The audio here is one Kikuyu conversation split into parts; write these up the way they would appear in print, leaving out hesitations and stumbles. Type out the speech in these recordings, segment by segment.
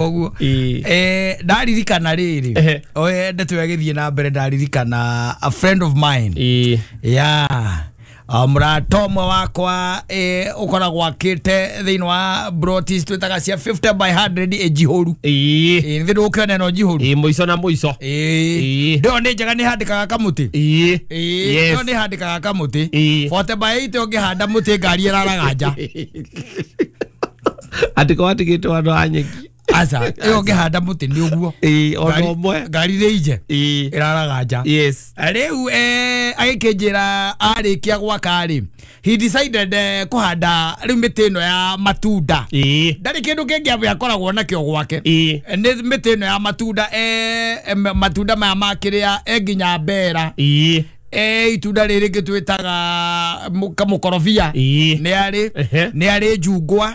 Ũguo. Ĩĩ. Ndaririkana rĩrĩ, oe ndeto ĩyo ĩgĩthiĩ na mbere, ndaririkana a friend of mine, yeah, mũrata ũmwe wakwa, ũkoragwo akĩte thĩinĩ wa brotis twĩtaga cia 50 by 100 ĩnjihũru. Nĩ ndũkĩona ĩno njihũru. Ĩĩ, mũico na mũico. Ndĩyo nĩ njega, nĩ handĩkaga kamũtĩ. Ĩyo nĩ handĩkaga kamũtĩ. 40 by 80 ũngĩhanda mũtĩ, ngari ĩraraga nja. Andĩko watigĩtwo andũ a nyeki. Aca, ĩyo ũngĩhanda mũtĩ nĩ ũguo. Ĩĩ, ona ũmwe. Ngari nĩ inje ĩraraga nja. Rĩu agĩkĩnjĩra arĩkia gwaka rĩ, he decided kũhanda rĩu mĩtĩ ĩno ya matunda. Ndarĩ kĩndũ kĩngĩ amwe akoragwo nakĩo gwake. Nĩ mĩtĩ ĩno ya matunda, matunda maya makĩrĩa, nginya mbera, itunda rĩrĩ rĩngĩ twĩtaga kamũkorobia. Nĩ arĩ nĩ arĩ njungwa,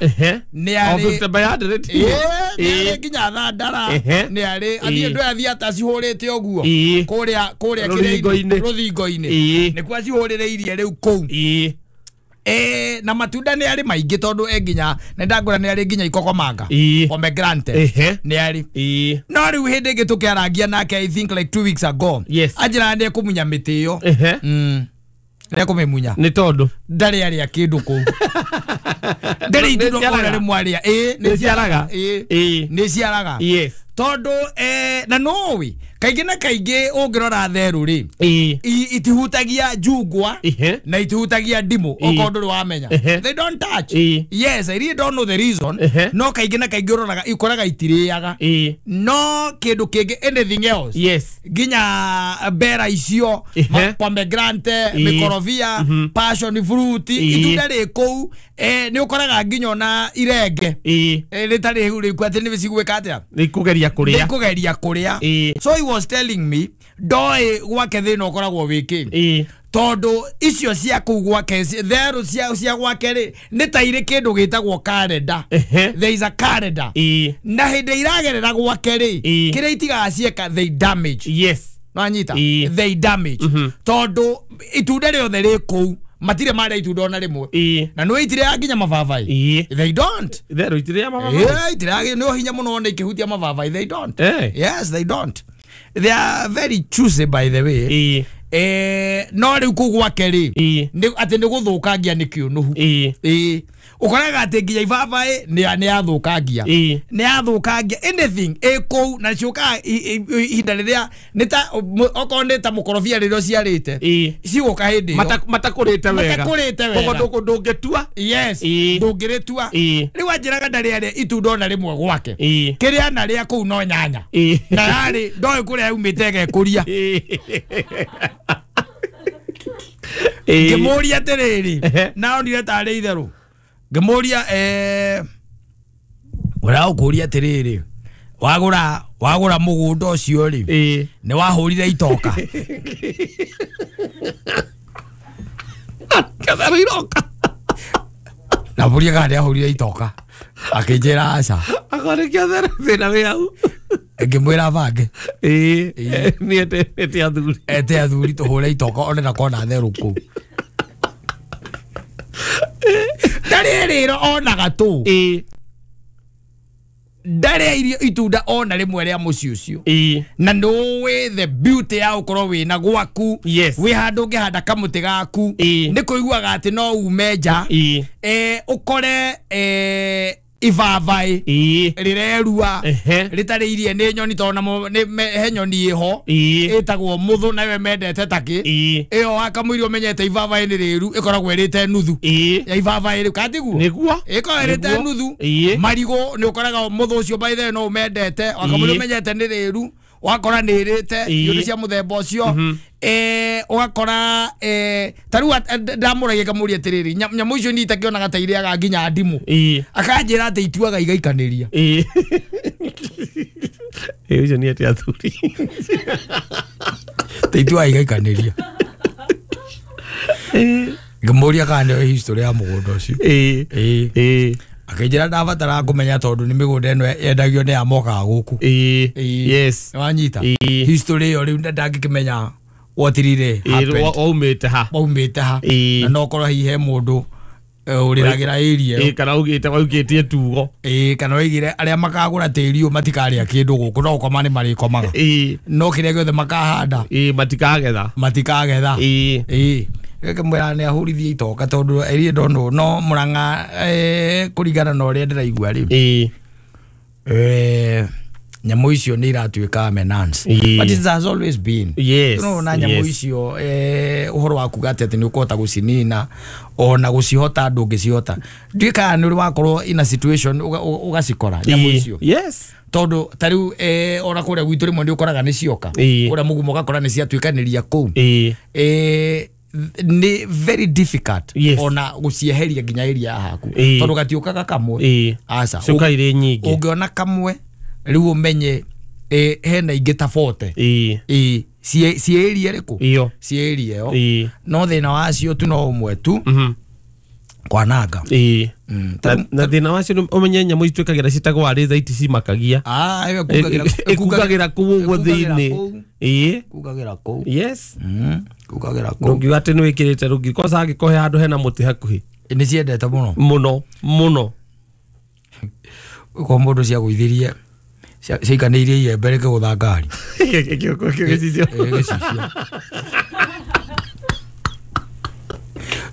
nĩ O arĩ 50 by 100. Nĩ arĩ nginya thandara. Nĩ arĩ athiĩ ndũ athiĩ atacihũrĩte ũguo kũrĩa Rũthingo-inĩ. Rũthingo-inĩ. Nĩkuo acihũrĩrĩirie rĩu kũu. Na matunda nĩ arĩ maingĩ tondũ nginya nĩ ndangũra nĩ arĩ nginya ikokomanga, pomegranate. Nĩ arĩ. No rĩu hĩndĩ ĩngĩ tũkĩarangia nake, I think like 2 weeks ago, anjĩraga nĩ ekũmunya mĩtĩ ĩyo. Nĩ ekũmĩmunya. Nĩ tondũ Ndarĩ arĩa kĩndũ kũu, ndarĩ itunda Nĩ ciaraga? ona rĩmwe arĩa. Ĩĩ, Nĩ ciaraga? Ĩĩ. Nĩ ciaraga. Tondũ na nũĩ kaingĩ na kaingĩ ũngĩrora therũ rĩ, itihutagia njungwa na itihutagia ndimũ, okorwo ndũrĩ wamenya. They don't touch. Yes, I really don't know the reason. No kaingĩ na kaingĩ ũroraga ikoraga itirĩaga no kĩndũ kĩngĩ, anything else, nginya mbera icio, pomegranate, mĩkorobia, passion fruit, itunda rĩ kũu, nĩ ũkoraga nginya ona irenge, rĩtarĩ rĩu atĩ nĩ cigwĩka atĩa. Nĩ kũgeria kũrĩa. Nĩ kũgeria kũrĩa. So he was telling me ndoĩ gwake thĩna ũkoragwo wĩkĩ, tondũ icio cia kũu gwake, therũ cia gwake rĩ, nĩ ta irĩ kĩndũ gĩtagwo calendar. There is a calendar. Na hĩndĩ iragerera gwake rĩ, kĩrĩa itigaga cieka, they damage. Nwanyita? They damage, tondũ itunda rĩothe rĩ kũu matirĩ marĩa itunda ona rĩmwe. Na nĩ itirĩaga nginya mababai. They don't. Therũ itirĩa mababa. Yeah, itirĩaga, nĩ hinya mũno one ikĩhutia mababai. They don't. Yes, they don't. They are very choosy, by the way. No rĩu kũu gwake rĩ, atĩ nĩ gũthũkangia nĩ kĩũnũhu. Ĩĩ, ũkoraga atĩ nginya ibabaĩ nĩ yathũkangia. Nĩ yathũkangia anything ĩ kũu, na ciũkaga ihinda rĩrĩa nĩ ta okorwo nĩ ta mũkorobia rĩrĩa ũciarĩte, cigũka hĩndĩ ĩyo. Matakũrĩte wega. Matakũrĩte wega. Koguo ndũngĩtua. Yes. Ndũngĩrĩtua. Rĩu anjĩraga ndarĩ arĩa itunda ona rĩmwe gwake. Kĩrĩa narĩa kũu no nyanya. Na yarĩ ndoĩ kũrĩa yaumĩte ĩgekũria. Ngĩmũria atĩrĩrĩ, naonire tarĩ itherũ, ngĩmũria, ũragũkũria atĩrĩrĩ, wagũra mũgũnda ũcio rĩ, nĩ wahũrire itoka? Katherũ iroka. Ndamũria kana nĩ ahũrire itoka, akĩnjĩra aca. Akorwo nĩ kĩotherũ thĩna wĩ hau. Ngĩmwĩra bange. Nĩ ete athuri. Ete athuri tũhũre itoka one na kona therũ kũu ndarĩ rĩro onaga tũ. Ndarĩ irio itunda ona rĩmwe rĩa mũciĩ ũcio. Na nũĩ the beauty ya ũkorwo wĩna gwaku, wĩ handũ ũngĩhanda kamũtĩ gaku. Nĩ kũiguaga atĩ no ume nja, ũkore ibabaĩ rĩrerua rĩtarĩ irie nĩ nyoni, tondũ namo he nyoni ĩho ĩtagwo mũthũ, nayo mendete takĩ ĩyo wakamũiria ũmenyete ibabaĩ nĩ rĩru, ĩkoragwo ĩrĩte nuthu ya ibabaĩ rĩu katiguo. Nĩguo. Ĩkoragwo ĩrĩte Nĩguo. nuthu. Marigũ nĩ ũkoraga mũthũ ũcio, by the way, no ũmendete wakamũiria ũmenyete nĩ rĩru, wakora nĩ ĩrĩte irio cia mũthemba ũcio. Ũgakora ta rĩu ndamũragia ngamũria atĩrĩrĩ, nyamũ icio niĩ itakĩonaga ta irĩaga nginya ndimũ. Akanjĩra atĩ ituaga igaikanĩria. Ĩĩ, ũcio nĩ ete athuri. Ta ituaga igaikanĩria. Ngĩmũria kana nĩoĩ history ya mũgũnda ũcio. Akĩnjĩra ndabataraga kũmenya tondũ nĩ mĩgũnda ĩno yendagio nĩ amokaga gũkũ. Nĩwanyita? History ĩyo rĩu ndangĩkĩmenya what really happened. Waumĩte ha. Waumĩte ha. Na no korwo hihi he mũndũ Ũrĩragĩra area ĩyo. Kana ugĩte waugĩtie tugo. Kana oigire arĩa makagũra tĩri ũyũ matikarĩa kĩndũ gũkũ no gũkoma nĩ marĩkomaga. No kĩrĩa gĩothe makahanda matikagetha. Matikagetha. Gĩkĩmwĩra nĩ ahũrithie itoka tondũ area ndonũ no Murang'a kũringana na ũrĩa ndĩraigua rĩ. Nyamũ icio nĩ iratuĩka menace. But it has always been. Yes. No na nyamũ icio ũhoro wa kuga atĩ nĩ ũkũhota gũcinina ona gũcihota ndũngĩcihota. Ndiũĩ kana nĩ ũrĩ wakorwo in a situation ũgacikora nyamũ icio. Yes. Tondũ ta rĩu ona kũrĩa gwitũ rĩmwe nĩ ũkoraga nĩ cioka. Kũrĩa mũgumo ũgakora nĩ ciatuĩkanĩria kũu. Nĩ very difficult ona gũcieheria nginya area ya haku. Tondũ gatiũkaga kamwe. Aca. Ciũkaga irĩ nyingĩ. Ũngĩona kamwe rĩu ũmenye hena ingĩ ta 40. Ciĩ area ĩrĩkũ? Ciĩ area ĩyo. No thĩna wacio tu no ũmwe tu. Kwananga. Na thĩna wacio ũmenye nyamũ ituĩkagĩra ciĩtagwo arĩtha iticimakagia. Ĩkungagĩra kũu ũguo thĩinĩ. Kungagĩra kũu. Yes. Kungagĩra kũu. Ndũngiuga atĩ nĩ wĩkĩrĩte rũgiri kwanza angĩkorwo he handũ hena mũtĩ hakuhĩ. Nĩ ciendete mũno. Mũno mũno. Ũkorwo mũndũ ciagũithirie ciaikanĩirie iembe rĩkĩgũtha ngari. Gĩcicio. Gĩcicio.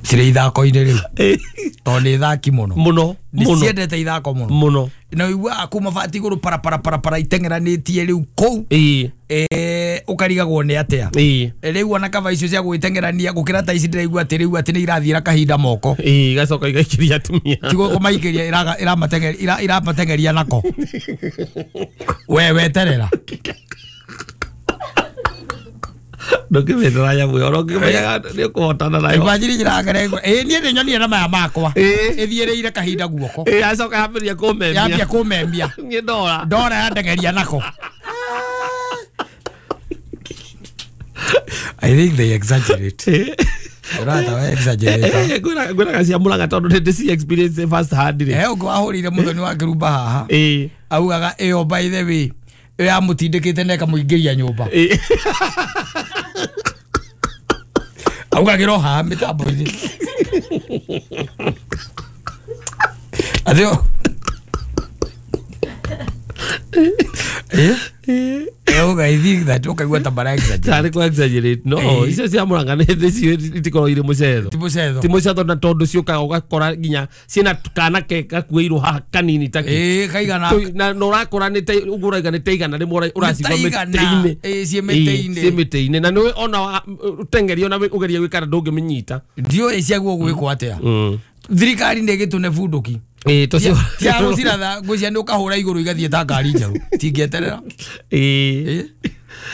Cirĩ ithako-inĩ rĩu. Tondũ nĩ thaki mũno. Mũno. Nĩ ciendete ithako mũno. Mũno. Na ũiguaga kuma bati igũrũ para para para para iteng'eranĩtie rĩu kũu. Ũkarigagwo nĩ atĩa. Rĩu ona kaba icio cia gwĩteng'erania gũkĩra ta ici ndĩraigua atĩ rĩu atĩ nĩ irathiĩra kahinda moko. Igacoka igaikĩria atumia. Ti kũmaikĩria iramateng'eria nako. We weterera. Ndũngĩmĩtara nyamũ ĩyo ũngĩmenyaga nĩ ũkũhotana nayo. Imagine njĩra niĩ nĩ nyonire na maya makwa. Ĩthiĩrĩire kahinda guoko. Yacoka yambĩrĩria kũmemia. Yambia kũmemia. Niĩ ndora. Ndora yandeng'eria nako. I think they exaggerate. Ũrata we exaggerate. Ngwĩraga cia Murang'a tondũ nĩ ndĩ experience first hand rĩ. Ũngĩ wahũrire mũthoni wa kĩrumba haha. Augaga ĩyo by the way ĩyo yamũtindĩkĩte na ĩkamũingĩria nyũmba. Augagĩra o haha mĩtambo-inĩ. Athio. Auga I think that ũkaigua ta mara exaggerate. Tarĩ kũ exaggerate. No, icio cia Murang'a nĩ nĩcio itikoragwo irĩ mũcetho. Ti mũcetho. Ti mũcetho na tondũ ciũkaga ũgakora nginya ciĩna kana ke gakuĩirwo haha kanini ta kĩ. Kaigana. Na ũrakora nĩ ta ũguo ũrauga nĩ ta igana rĩmwe ũracigua mĩtĩ-inĩ. Ciĩ mĩtĩ-inĩ. Ciĩ mĩtĩ-inĩ. Na nĩũĩ ona ũteng'eria ona ũgerie gwĩka ndũngĩmĩnyita. Ndiũĩ ciaguo gwĩkwo atĩa. Thirikari nĩ ĩgĩtũne bunduki. Tia gũciratha ngwĩciria nĩ ũkahũra igũrũ igathiĩ ta ngari njerũ. Tingĩeterera.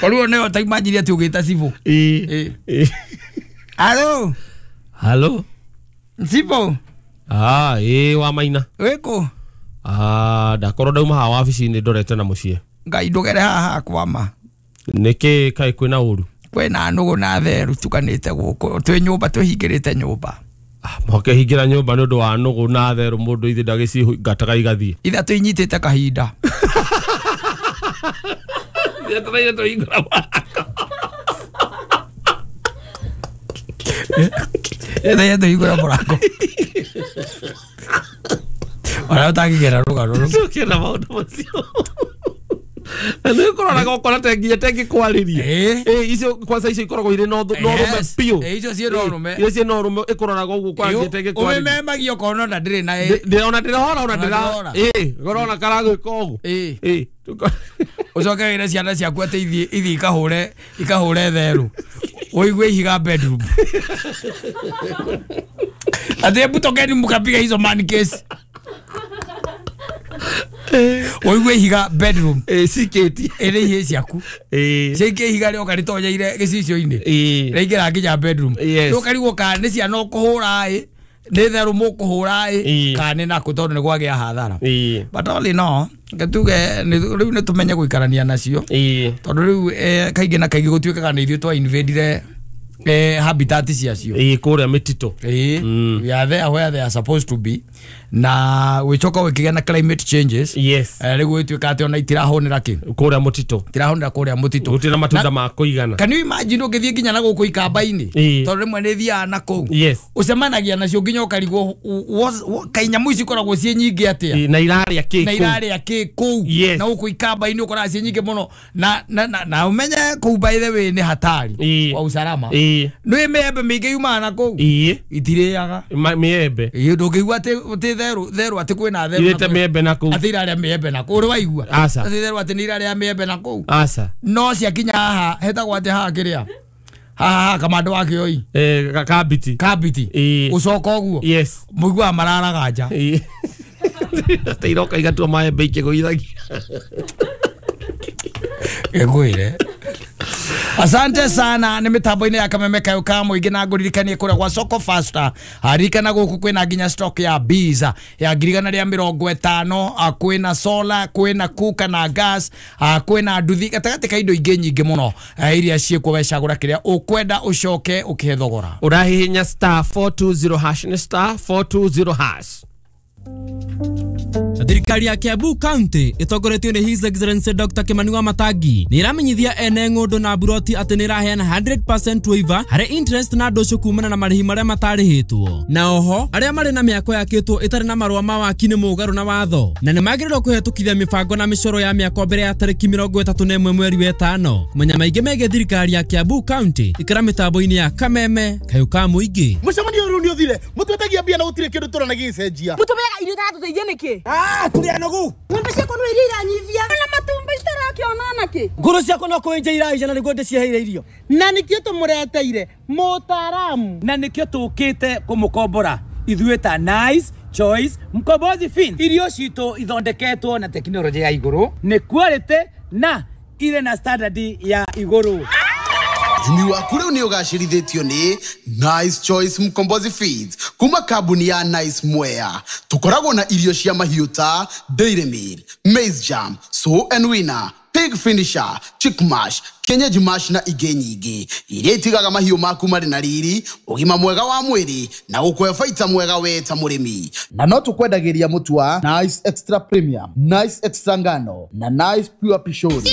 Koruo nĩyo ta imagine atĩ ũgĩta cibũ. Halo. Halo. Cibũ. Wa Maina. Wĩkũ? Ndakorwo ndauma haha wabici-inĩ ndorete na mũciĩ. Ngai ndũgere haha hakwa ma. Nĩkĩ kaĩ kwĩna ũru? Kwĩna nũgũ na therũ tukanĩte gũkũ. Twĩ nyũmba twĩhingĩrĩte nyũmba. Mũkĩhingĩra nyũmba nĩ ũndũ wa nũgũ na therũ mũndũ ithe ndagĩcingataga igathiĩ. Ithatũ inyitĩte kahinda. Ithatũ hingũra mũrango. Ona ũtangĩgera rũgano rũu. Tũkĩenda maũndũ macio. Na nĩ ũkoraga ũkora ta nginya ta ĩngĩkwarĩria. Icio kwanza icio ikoragwo irĩ na ũrũme biũ. Icio ciĩ na ũrũme. Icio ciĩ na ũrũme ĩkũroraga ũguo kwa nginya ta ĩngĩkwarĩria. Ũmĩmemagia ũkona ona ndĩrĩ na ona ndĩrahora ona ndĩra. Ũrona karagwĩka ũguo. Ũcoke wĩre ciana ciaku atĩ ithiĩ ikahũre therũ. Ũigue ihiga bedroom. Atĩ hebu tokeni mũkapiga hizo man case. Ũigue ihiga bedroom. Cikĩtie. Ĩrĩ ihĩĩ ciaku. Ciaikia ihiga rĩoka rĩtonyeire gĩcicio-inĩ. Rĩaingĩra nginya bedroom. Rĩu ũkarigwo kana nĩ ciana ũkũhũra ĩ, nĩ therũ mũkũhũra ĩ, kana nĩ nakũ tondũ nĩ kwagĩa hathara. But all in all, tuge rĩu nĩ tũmenye gũikarania nacio. Tondũ rĩu kaingĩ na kaingĩ gũtuĩkaga nĩ ithuĩ twa invadire Habitat ciacio. Ĩĩ kũrĩa mĩtitũ. Ĩĩ. We are there where they are supposed to be. Na wĩcoka wĩkĩgĩa na climate changes. Yes. Rĩu ĩtuĩka atĩ ona itirahũnĩra kĩ? Kũrĩa mũtitũ. Itirahũnĩra kũrĩa mũtitũ. Gũtirĩ na matunda ma kũigana. Can you imagine ũngĩthiĩ nginya na gũkũ ikamba-inĩ? Tondũ rĩmwe nĩ thiaga na kũu. Yes. Ũcemanagia nacio nginya ũkarigwo kaĩ nyamũ ici ikoragwo ciĩ nyingĩ atĩa? Na irarĩa kĩ kũu? Na irarĩa kĩ kũu? Yes. Na gũkũ ikamba-inĩ ũkoraga ciĩ nyingĩ mũno. Na ũmenye kũu by the way nĩ hatari wa usalama. Nĩ mĩembe mĩingĩ yumaga na kũu. Itirĩaga. Mĩembe. Ndũngĩigua atĩ theru atĩ kwĩna theru. Irĩte mĩembe na kũu. Atĩ irarĩa mĩembe na kũu. Ũrĩ waigua? Aca. Atĩ theru atĩ nĩ irarĩa mĩembe na kũu. Aca. No ciakinya haha hetagwo atĩ haha kĩrĩa. Haha kamando wa kĩoi. Kabiti. Kabiti. Ũcoka ũguo. Yes. Mũiguaga mararaga nja. Atĩ iroka igatua maembe ikĩgũithagia. Ngwĩre. Asante sana nĩ mĩtambo-inĩ ya Kameme Kayũ ka mũingĩ na ngũririkanie kũrĩa gwa Soko Faster. Ririkana gũkũ kwĩna nginya stock ya bees ya 150,000, kwĩna solar, kwĩna cooker na gas, kwĩna nduthi gatagatĩ ka indo ingĩ nyingĩ mũno iria ciĩkuo wecagũra kĩrĩa ũkwenda ũcoke ũkĩhe thogora. Ũrahihinya star 420 hash nĩ star 420 hash. Thirikari ya Kiambu County ĩtongoretio nĩ His Excellency Dr. Kimani Wamatangi nĩ ĩramenyithia ene ng'ũndũ na buroti atĩ nĩ ĩraheana 100% waiver harĩ interest na ndũcũ kumana na marĩhi marĩa matarĩhĩtwo. Na oho arĩa marĩ na mĩako yakĩtwo ĩtarĩ na marũa ma waki nĩ mũgarũ na watho na nĩ magĩrĩirwo kũhetũkithia mĩbango na mĩcoro ya mĩako mbere ya tarĩki 31 mweri wa 5. Kũmenya maingĩ megiĩ thirikari ya Kiambu County ikara mĩtambo-inĩ ya Kameme Kayũ ka mũingĩ. Mũcemanio ũyũ nĩ ũthire mũtwetagia mbia na gũtirĩ kĩndũ tũrona gĩgĩcenjia. Mũtũmeaga irio itatũteithia nĩkĩ? Tũrĩ anogu. Ng'ombe ciakwa no iria iranyivia. Na matumbi citarakĩona nakĩ? Ngũrũ ciakwa no kũenja iraija na nĩguo ndĩciheire irio. Na nĩkĩo tũmũreteire mũtaaramu. Na nĩkĩo tũkĩte kũmũkombora ithuĩ ta Nice Choice Mkombozi Fin. Irio citũ ithondeketwo na tekinoronjĩ ya igũrũ, nĩ quality na irĩ na standard ya igũrũ. Ũrĩmi waku rĩu nĩ ũgacĩrithĩtio nĩ Nice Choice Mkombozi Feeds kuma kambuni ya Nice Mwea. Tũkoragwo na irio cia mahiũ ta Dairy Meal, Maize Jam, Sow and Winner, Pig Finisher, Chick Mash, Kienyeji Mash na ingĩ nyingĩ iria itigaga mahiũ maku marĩ na riri, ũgima mwega wa mwĩrĩ na gũkũhe baita mwega we ta mũrĩmi. Na no tũkwendagĩria mũtu wa Nice Extra Premium, Nice Extra Ngano na Nice Pure Pishori.